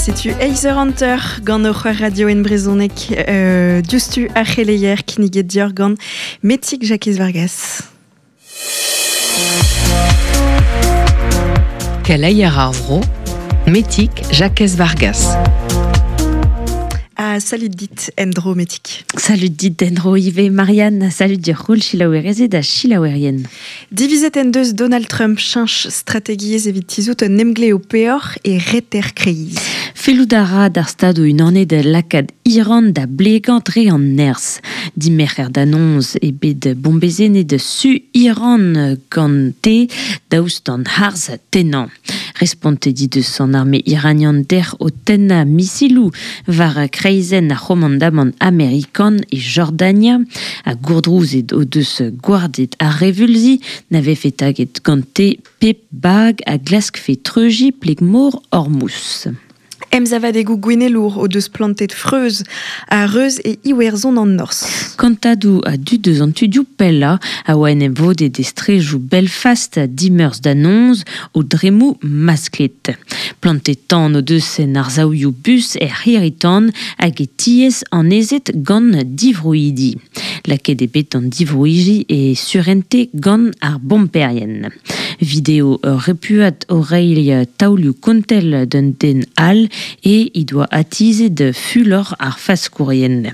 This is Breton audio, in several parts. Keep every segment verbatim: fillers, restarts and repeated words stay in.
Setu Eizer Hunter gant ur c'hoar radio en brezonek euh, diouzhtu ar c'heleier kinniget dior gant Metik Jakez Vargas. Keleier ar vro, Metik Jakez Vargas. Ah, salut dit Endro Metik. Salut dit Endro Ive Marianne, salut dir roul chilaouerezed ha chilaouerien. Divizet en deus Donald Trump cheñch strategiezh evit tizout un emgleo peoc'h e reter kreiz. Fellout a ra d'ar stadoù unanet lakaat Iran da blegañ dre an nerzh. Dimerc'her da noz e bet bombezennet su Iran gante daoust an harz tennañ. Respontet dit deus an arme iranian der o tennañ misilou war kreizenn ar c'homandamant amerikan e Jordania a gourdrouzet o deus gwarded ar revolzi na vefe taget gante pep bag a glaskfe treuji pleg-mor Ormuz. Emzavadegoù gouennelour o deus plantet freuz a reuz e Iwerzhon an Norzh. Kantadoù a dud deus an tudioù pellañ a oa en em vodet e strejoù Belfast dimeurzh da noz o dremmoù masklet. Plantet tan o deus en arsaoioù bus er c'hirri-tan hag e tiez annezet gant divroidi. Lakaet eo bet an divroidi e surente gant ar bomperien. Video ur repuad o reiñ taolioù kontell d'un den all e he doa atizet fulor ar faskourien.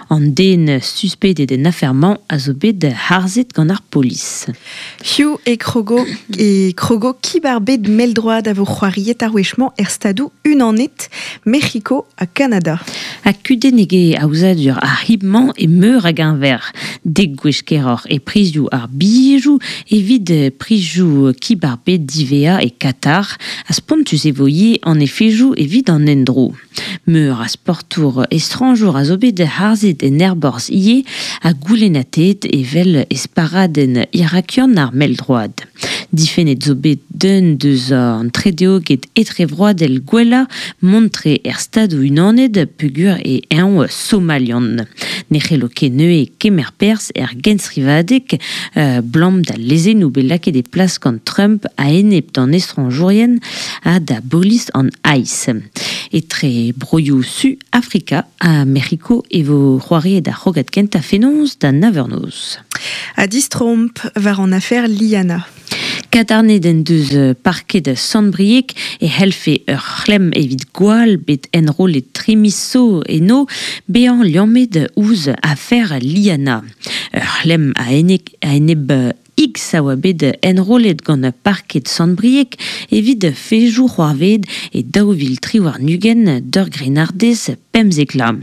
An den suspedet en afermañ a zo bet harzet gant ar polis. Hugh e krogo e krogo kibar bet meldroad a vo c'hoariet ar wechmañ er stadoù unanet, Mec'hiko ha Kanada. Ha kudenn eo aozadur ar c'hib-mañ e meur hag anver. Dek gwech keroc'h e prizioù ar bilhejoù evit prizioù kib ar bed divea e Qatar ha spontus e vo ivez an efejoù evit an endro. Meur a sportour estrañjour a zo bet harzet en aerborzh ivez ha goulennatet evel esparadenn irakian ar meldroad. Difennet zo bet d'un deus an tredeoged etrevroadel gwellañ mont-tre er stadoù unanet peogwir e eñ somalian. Ne c'hello ket neuze kemer perzh er genstrivadeg euh, blam da lezennoù bet lakaet e plas gant Trump a-enep d'an estrañjourien ha da bolis an ICE. Etre broioù Su Afrika ha Mec'hiko e vo c'hoariet ar c'hrogad kentañ fenoz da nav eur noz. Ha distromp war an afer Liana. Kadarnet en deus parket Sant-Brieg e c'hellfe ur c'hlemm evit gwall bet enrollet tri miz zo eno bezañ liammet ouzh afer Liana. Ur c'hlemm a-enep X a oa bet enrollet gant parket Sant-Brieg evit fejoù c'hoarved e daou vil tri warn-ugent d'ur grennardez pemzek la.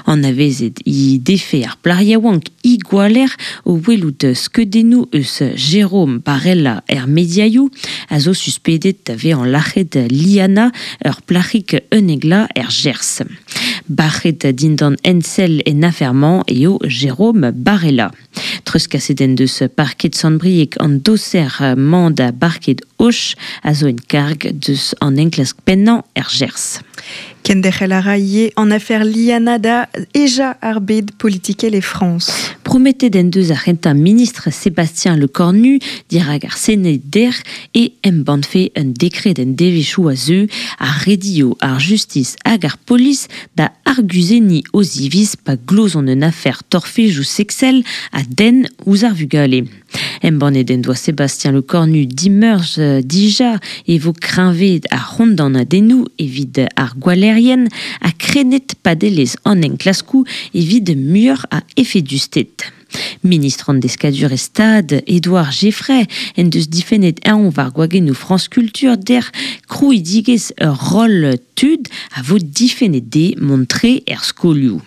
Anavezet he defe ar plac'h yaouank he gwaller o welout skeudennoù eus Jérôme Barella er mediaioù a zo suspedet da vezañ lac'het Liana ur plac'hig unnek er Gers. Bac'het dindan ensell en afer-mañ eo Jérôme Barella. Treuzkaset en deus parket Sant-Brieg an doser mañ da barket Och a zo en karg deus an enklask pennañ er Gers. Kenderc'hel a ra ivez an afer Liana da eja ar bed politikel e Frañs. Prometet en deus ar c'hentañ ministr Sébastien Lecornu dirak ar Sened der e embannfe un dekred en devezhioù a zeu a redio ar justis hag ar polis da arguzenniñ o ziviz pa glozont un afer torfejoù sexel a denn ouzh ar vugale. Embannet en doa Sébastien Lecornu dimeurzh dija e vo kreñvaet ar c'hondanadennoù evit ar gwallerien ha krennet padelezh an enklaskoù evit muioc'h a efedusted. Ministr an deskadurezh Stad Édouard Geffray en deus difennet eñ war gwagennoù France Culture der krouidigezh ur roll tud a vo difennet dezhe mont-tre er skolioù.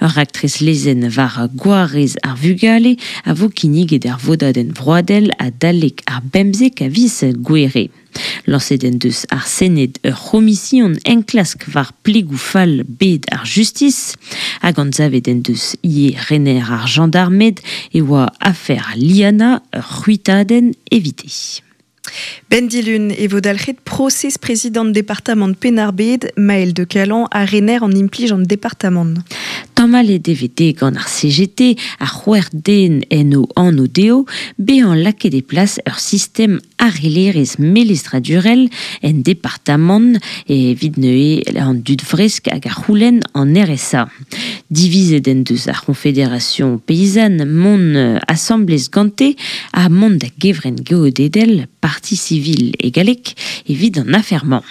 Ur raktres lezenn war gwarez ar vugale a vo kinniget er vodadenn vroadel adalek ar bemzek a viz Gouere. Lañset en deus ar Sened ur c'homision enklask war plegoù fall bed ar justis hag anzavet en deus ivez rener ar gendarmed e oa afer Liana ur c'hwitadenn evite. Ben dilun e vo dalc'het prosez prezidant departamant Penn-ar-Bed, Maël de Calan, a rener an implij an departamant. Tamal e D V D gant ar C G T ar c'hwec'h den en o anv dezho bezañ lakaet e plas ur sistem harellerezh melestradurel en departamant evit neuze an dud fresk hag ar c'houlenn an R S A. Divizet en deus ar Confédération paysanne mont asambles gante ha mont da gevrenn geodedel partie civile e galleg evit an afer-mañ.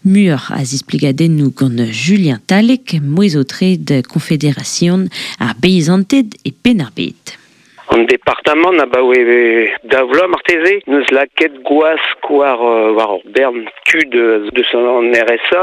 Muioc'h a zisplegadennoù gant Julien Talec, mouezh-aotreet Confédération ar beizanted e Penn-ar-Bed. An departamant abaoe daou vloaz marteze, neus lakaet gwask war, war ur bern tud deus an R S A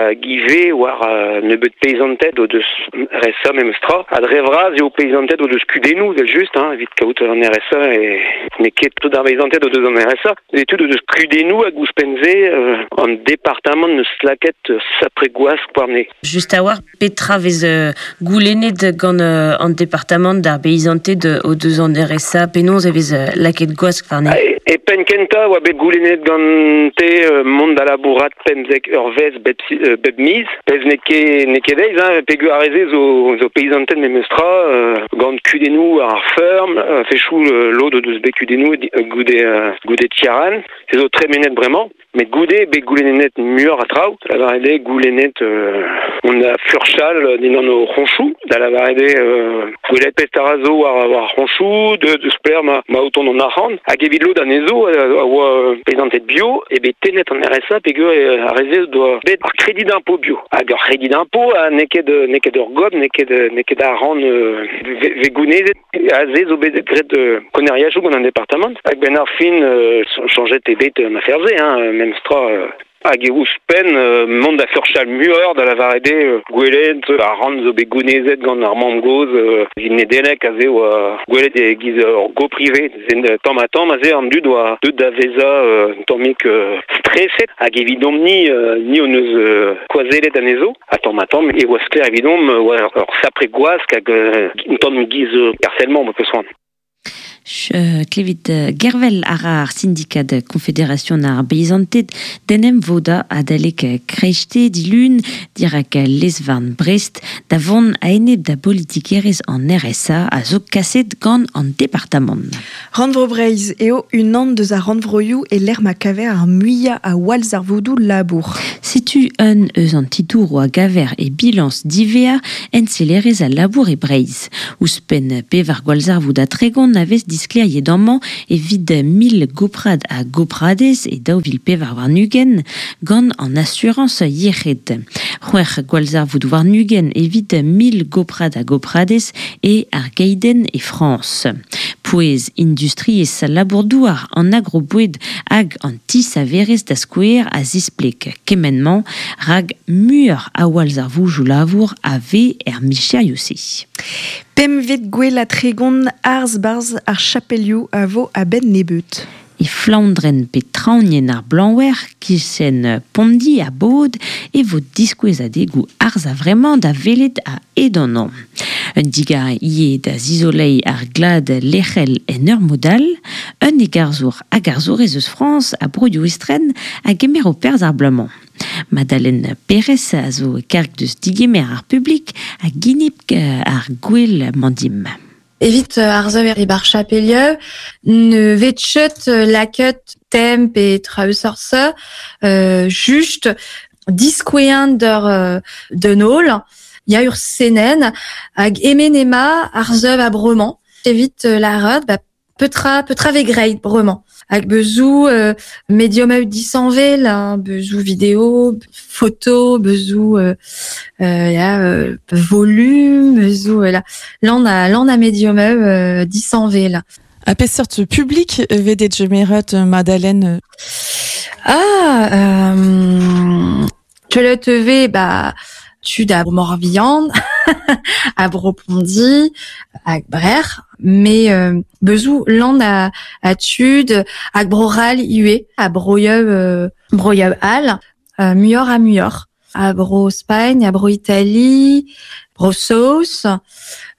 hag ivez war nebeut peizanted o deus R S A memestra. Ha dre vras eo peizanted o deus kudennoù evel just, hein, evit kaout an R S A e n'eo ket tout ar beizanted o deus an R S A. E tud o deus kudennoù hag ouzhpenn-se euh, an departamant neus lakaet sapre gwask warne. Just a-walc'h petra vez euh, goulennet gant euh, an departamant d'ar beizanted o deus an R S A, penaos e vez euh, lakaet gwask warne? E, e penn kentañ oa bet goulennet gante euh, mont da labourat pemzek eurvezh bep, euh, bep miz. Pezh n'eo ket n'eo ket aes, hein, peogwir ar re-se zo, zo peizanted memestra, euh, gant kudennoù ar feurm, euh, fechoù euh, lod o deus bet kudennoù goude, euh, goude Ciaran, se zo tremenet bremañ. Met goude bet goulennet muioc'h a traoù, da lavaret eo goulennet euh, on a furchal dindan o c'honchoù, da lavaret eo euh, gwelet pezh a zo war, war c'honchoù, de, de sper ma, ma o tont an arc'hant, hag evit lod anezho a, a oa peizanted bio, e bet tennet an R S A peogwir ar re-se doa bet ar crédit d'impôt bio. Hag ar crédit d'impôt a n'eo ket n'eo ket ur gopr, n'eo ket n'eo ket arc'hant euh, ve, ve gounezet. Aze zo bet graet euh, koneriajoù gant an departamant. Hag ben ar fin euh, chañjet eo bet an afer-se, hein, memestra euh, hag e ouzhpenn euh, mont da furchal muioc'h da lavaret eo euh, gwelet arc'hant zo bet gounezet gant ar mamm-gozh euh, evit Nedeleg aze oa gwelet e giz ur go privé zen tamm ha tamm aze an dud oa deut da vezañ euh, un tammig euh, streset hag evidomp-ni euh, ni hon eus euh, skoazellet anezho ha tamm ha tamm e oa sklaer evidomp oa ur sapre gwask hag euh, un tamm giz euh, harcèlement ma peus c'hoant. Klevit gervel ar ar syndikat Confédération ar beizanted d'en em voda adalek kreiste dilun dirak lez-varn Brest da vont a enep da politikerezh an R S A a zo kaset gant an departamant. Rannvro Breizh eo unan deus ar rannvroioù e lec'h ma kaver ar muiañ a wallzarvoudoù labour. Setu un eus an titouroù a gaver e bilañs diwezhañ ensellerezh al labour e Breizh. Ouzhpenn pevar gwallzarvoud ha tregont a vez disklêriet amañ evit mil goprad ha gopradez e daou vil pevar warn-ugent gant an asurañs yec'hed. C'hwec'h gwallzarvoud warn-ugent evit mil goprad ha gopradez e ar geidenn e Frañs. Pouez industriezh al labour-douar an agroboued hag an tisaverezh da skouer a zispleg kement-mañ rak muioc'h a wallzarvoudoù labour a vez er micherioù-se. Pempvet gouel ha tregont arz barzh ar chapelioù a vo a-benn nebeut. E Flandren pe traoñienn ar Blanwer, kichen Pondi ha Baod, e vo diskouezadegoù arz a-vremañ da welet a-hed an hañv. Un digarez ivez da zizoleiñ ar glad lec'hel en ur mod all, unnek arzour hag arzourez eus Frañs ha broioù estren a gemero perzh ar bloaz-mañ. Madeleine Pérez a zo karg deus digemer ar publik a ginnig ar gouel mañ dimp. Evit ar zeuer e bar chapelieu, ne vetchet laket temp e traoù sort euh, just diskouean d'ur euh, d'un ol, ya ur senen hag emenema ar zeuv a bremañ. Evit la rod, ba, petra, petra ve greit bremañ. Hag bezou euh, medium a disanvel, hein, bezou vidéo, photo, bezou euh, euh, ya, euh, volume, bezou euh, la, lan a, lan a medium euh, disanvel. A peseurt publik vez degemeret Madeleine? Ah, euh, Tchelet ve, ba, tud a Morbihan, a Bro-Pondi, hag Brec'h, mais euh, bezou lan a, a tud hag Bro-C'hall ivez, a broioù euh, broioù all, euh, muioc'h ha muioc'h, a Bro Spagn, a Bro Italie, Bro Saoz,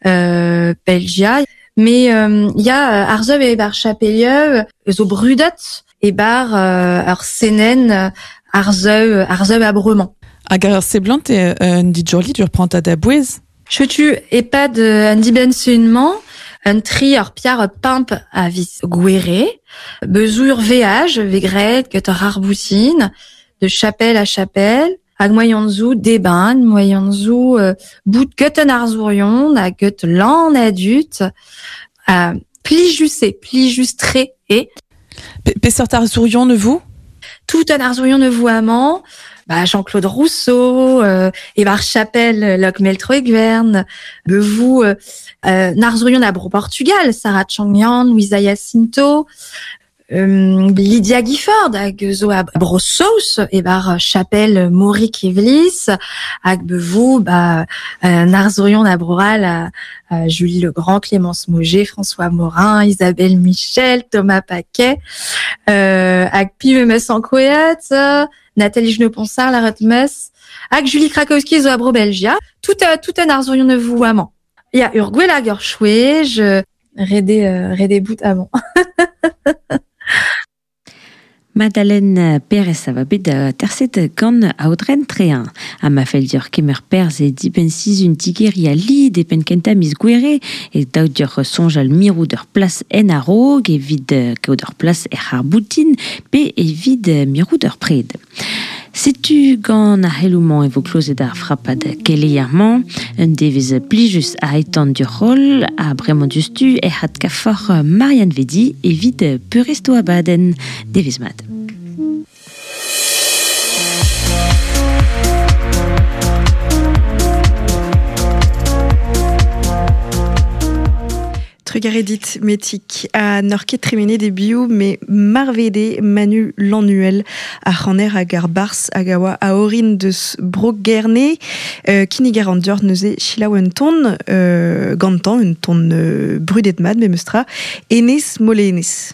euh, Belgia. Mais euh, ya ar zeuv e bar chapelieu zo brudet e bar euh, ar senen ar zeuv ar zeuv a bremañ. Hag ar seblant e un dijorli dur prantad a bouez? Chetu epad un dibensunman, un tri ar piar pimp a vis gwere, bezour veaj, vegret, get ar arboutine, de chapelle à chapelle, hag moyenzo deban, moyenzo euh, bout get an arzourion, hag get lan adut, euh, plijuse, plijustre et... Pesort arzourion ne vous? Tout un arzourion ne vous amant, bah, Jean-Claude Rousseau, euh, Evar Chapelle, Locke Meltroeguern, Bevou, euh, euh, Narzourion à Bro Portugal, Sarah Changyan, Luisa Jacinto, euh, Lydia Gifford, hag zo a Bro-Saus, Evar Chapelle, Mauric Evlis, hag Bevou, bah, euh, Narzourion à Broral, à, à Julie Legrand, Clémence Mauger, François Morin, Isabelle Michel, Thomas Paquet, euh, hag Pive Sankoyat, Nathalie Geneponsard, la Rotmes, hag Julie Krakowski zo a Bro Belgia, tout a, tout un Arzourion ne vous amant. Il y a Urguel hag ur chouej, rede, euh, rede bout amant. Madeleine Pérez a va bet da terset gant aodren trein. A ma fell dior kemer perz e diben sizun tigeri a lid e pen kenta miz gwere e daout dior sonjal mirout ur plas en a-raog evit kaout ur plas er ar boutin pe evit mirout ur pred. Setu gant ar c'heloumañ e vo klozet ar frapad keleier-mañ, un devez plijus a etan du rol, a bremañ diouzhtu e c'had kafor Marianne Vedi evit peurresto abadenn. Devez mat. Trugaredit metik a norket tremene de bio me marvede Manu Lanuel a c'haner hag ar bars hag a oa a orin deus Bro-Gerne euh, kinniger an dior neuze chilaou un ton euh, gantan un ton euh, brudet mat me meustra Enez Molenez.